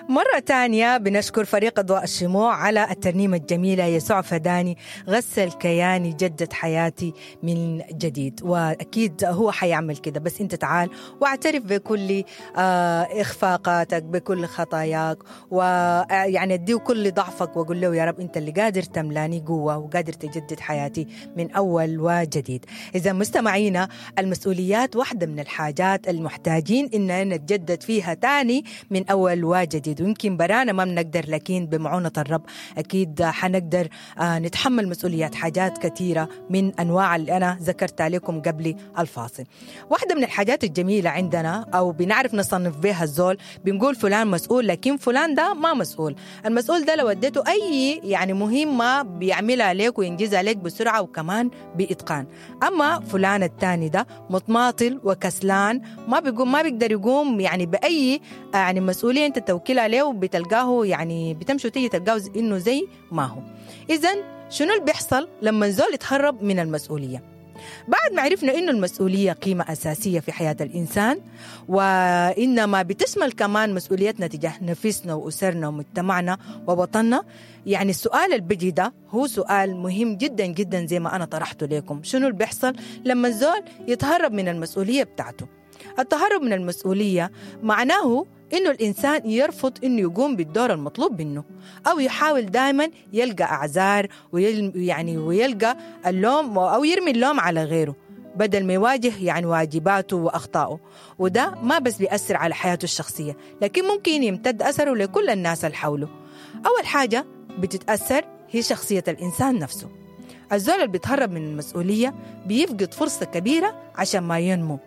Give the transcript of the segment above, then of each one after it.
مرة تانية بنشكر فريق أضواء الشموع على الترنيمة الجميلة يسوع فداني غسل كياني جدد حياتي من جديد. وأكيد هو حيعمل كده، بس أنت تعال واعترف بكل إخفاقاتك، بكل خطاياك، ويعني اديه كل ضعفك وقول له يا رب أنت اللي قادر تملاني قوة وقادر تجدد حياتي من أول وجديد. إذا مستمعينا، المسؤوليات واحدة من الحاجات المحتاجين إننا نتجدد فيها تاني من أول وجديد، ويمكن برانا ما بنقدر، لكن بمعونة الرب أكيد حنقدر نتحمل مسؤوليات حاجات كثيرة من أنواع اللي أنا ذكرتها لكم قبل الفاصل. واحدة من الحاجات الجميلة عندنا أو بنعرف نصنف بها الزول، بنقول فلان مسؤول لكن فلان ده ما مسؤول. المسؤول ده لو اديته أي يعني مهمة بيعملها لك وينجزها لك بسرعة وكمان بإتقان. أما فلان الثاني ده متماطل وكسلان، ما بيقوم، ما بيقدر يقوم يعني بأي يعني مسؤولية أنت توكلها له، بتلقاه يعني بتمشي وتيجي تلقاه إنه زي ما هو. إذن شنو اللي بيحصل لما الزول يتهرب من المسؤولية؟ بعد ما عرفنا إنه المسؤولية قيمة أساسية في حياة الإنسان، وإنما بتشمل كمان مسؤوليتنا تجاه نفسنا وأسرنا ومجتمعنا ووطننا، يعني السؤال اللي بيجي ده هو سؤال مهم جدا جدا زي ما أنا طرحته لكم. شنو اللي بيحصل لما الزول يتهرب من المسؤولية بتاعته؟ التهرب من المسؤولية معناه إنه الإنسان يرفض إنه يقوم بالدور المطلوب منه، أو يحاول دائما يلقى أعذار ويلقى اللوم أو يرمي اللوم على غيره بدل ما يواجه يعني واجباته وأخطائه. وده ما بس بيأثر على حياته الشخصية، لكن ممكن يمتد أثره لكل الناس اللي حوله. أول حاجة بتتأثر هي شخصية الإنسان نفسه. الزول اللي بيتهرب من المسؤولية بيفقد فرصة كبيرة عشان ما ينمو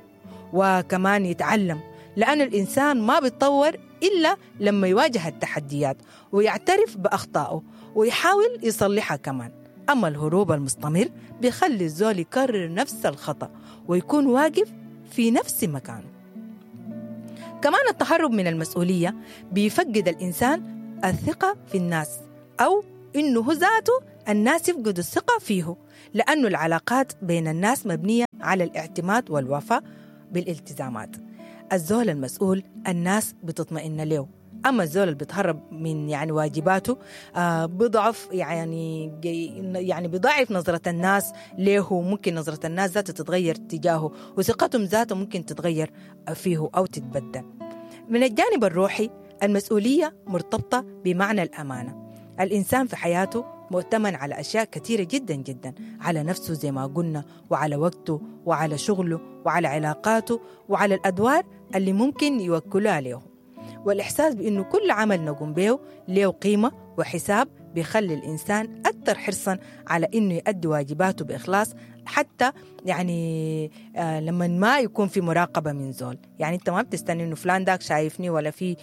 وكمان يتعلم، لأن الإنسان ما بيتطور إلا لما يواجه التحديات ويعترف بأخطائه ويحاول يصلحها كمان. أما الهروب المستمر بيخلي الزول يكرر نفس الخطأ ويكون واقف في نفس مكانه. كمان التهرب من المسؤولية بيفقد الإنسان الثقة في الناس، أو إنه هو ذاته الناس يفقدوا الثقة فيه، لأنه العلاقات بين الناس مبنية على الاعتماد والوفاء بالالتزامات. الزول المسؤول الناس بتطمئن له، أما الزول اللي بيتهرب من يعني واجباته بضعف يعني بضعف نظرة الناس له، ممكن نظرة الناس ذاته تتغير تجاهه وثقتهم ذاته ممكن تتغير فيه أو تتبدل. من الجانب الروحي، المسؤولية مرتبطة بمعنى الأمانة. الإنسان في حياته مؤتمن على أشياء كثيرة جدا جدا، على نفسه زي ما قلنا، وعلى وقته وعلى شغله وعلى علاقاته وعلى الأدوار اللي ممكن يوكلها له. والإحساس بأنه كل عمل نقوم به له قيمة وحساب بيخلي الإنسان أكثر حرصا على أنه يؤدي واجباته بإخلاص، حتى يعني لما ما يكون في مراقبة من زول. يعني أنت ما بتستني إنه فلان داك شايفني ولا في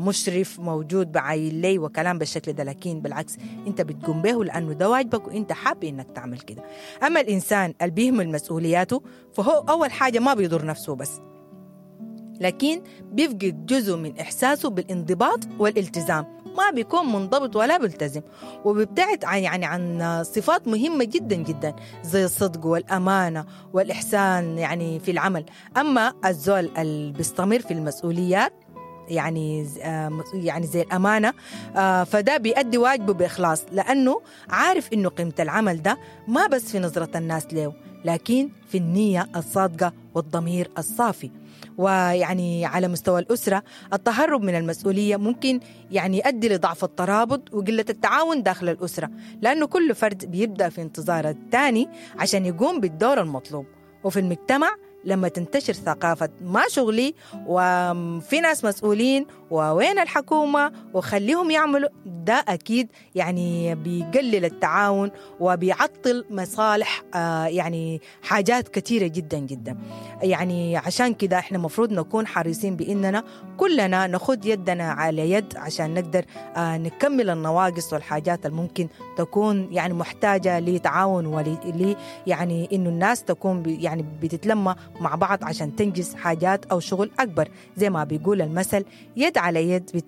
مشرف موجود بعاين لي وكلام بالشكل ده، لكن بالعكس أنت بتقوم به لأنه ده واجبك وأنت حابب إنك تعمل كده. أما الإنسان اللي بيهمل مسؤولياته فهو أول حاجة ما بيضر نفسه بس، لكن بيفقد جزء من إحساسه بالانضباط والالتزام، ما بيكون منضبط ولا بيلتزم، وبيبتعد عن صفات مهمة جدا جدا زي الصدق والأمانة والإحسان يعني في العمل. أما الزول اللي بيستمر في المسؤوليات يعني زي الأمانة فده بيأدي واجبه بإخلاص، لأنه عارف إنه قيمة العمل ده ما بس في نظرة الناس له، لكن في النية الصادقة والضمير الصافي. ويعني على مستوى الأسرة، التهرب من المسؤولية ممكن يعني يؤدي لضعف الترابط وقلة التعاون داخل الأسرة، لأنه كل فرد بيبدأ في انتظار الثاني عشان يقوم بالدور المطلوب. وفي المجتمع لما تنتشر ثقافة ما شغلي وفي ناس مسؤولين ووين الحكومة وخليهم يعملوا ده، أكيد يعني بيقلل التعاون وبيعطل مصالح يعني حاجات كثيرة جدا جدا. يعني عشان كده احنا مفروض نكون حريصين بإننا كلنا ناخد يدنا على يد عشان نقدر نكمل النواقص والحاجات الممكن تكون يعني محتاجة لتعاون ولي يعني إنه الناس تكون يعني بتتلمى مع بعض عشان تنجز حاجات أو شغل أكبر. زي ما بيقول المثل، يد على يد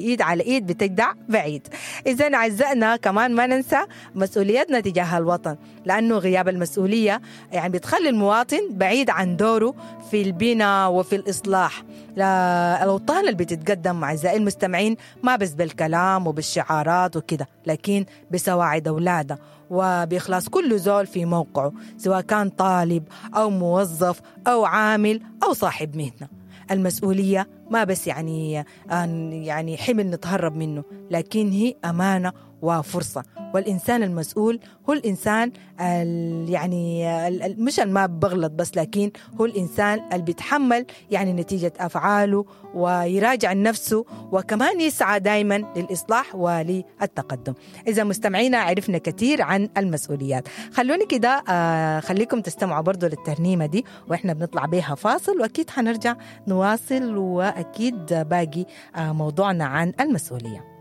يد على إيد بتجدع بعيد. إذن أعزائنا كمان ما ننسى مسؤوليتنا تجاه الوطن، لأنه غياب المسؤولية يعني بتخلي المواطن بعيد عن دوره في البناء وفي الإصلاح. الأوطان اللي بتتقدم أعزائي المستمعين ما بس بالكلام وبالشعارات وكده، لكن بسواعد أولادها وبإخلاص كل زول في موقعه، سواء كان طالب أو موظف أو عامل أو صاحب مهنة. المسؤولية ما بس يعني حمل نتهرب منه، لكن هي أمانة وفرصة. والإنسان المسؤول هو الإنسان يعني مش ما بغلط بس، لكن هو الإنسان اللي بيتحمل يعني نتيجة أفعاله ويراجع نفسه، وكمان يسعى دايما للإصلاح وللتقدم. إذا مستمعينا عرفنا كثير عن المسؤوليات، خلوني كده خليكم تستمعوا برضو للترنيمة دي وإحنا بنطلع بيها فاصل، وأكيد حنرجع نواصل وأكيد باقي موضوعنا عن المسؤولية.